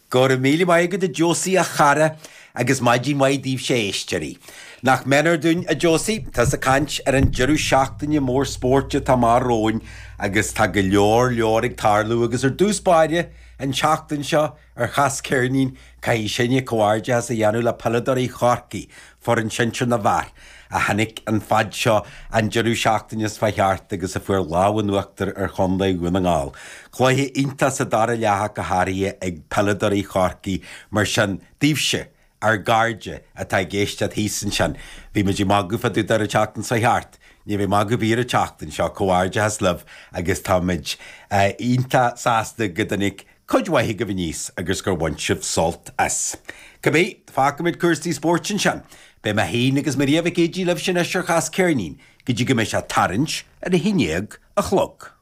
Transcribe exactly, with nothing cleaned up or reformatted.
Go raibh míle maith agat a Josie a chara agus maidin mhaith daoibhse a éisteoirí. Nach méanar dúinn a Josie, tá ag caint ar an deireadh seachtaine mór spóirt atá amach romhainn agus tá go leor leor ag tarlú agus ar dtús báire an tseachtain seo ar Chas Ceirnín caithfidh sinne comhghairdeas a dhéanamh le peileadóirí Chorcaí, foireann sinsir na bhfear, a tháinig an fad seo an deireadh seachtaine seo thart agus a fuair lámh in uachtar ar Chontae Dhún na nGall. Cluiche iontach sa dara leath go háirithe ag peileadóirí Chorcaí mar sin daoibhse ár gcairde atá ag éisteacht thíos ansin. Bhí muid ag magadh fá dtaobh de an tseachtain seo thart. Ní bheidh magadh ar bith an tseachtain seo comhghairdeas libh agus táimid iontach sásta go dtáinig cuid mhaith agaibh aníos agus gur bhain sibh sult as. Cibé, fágfaimid cúrsaí spóirt ansin. Beidh mé féin agus Maria Mhic Éadaigh libh sin anois ar Chas Ceirnín, go dtí go mbeidh sé tarraingt ar a haon déag a chlog.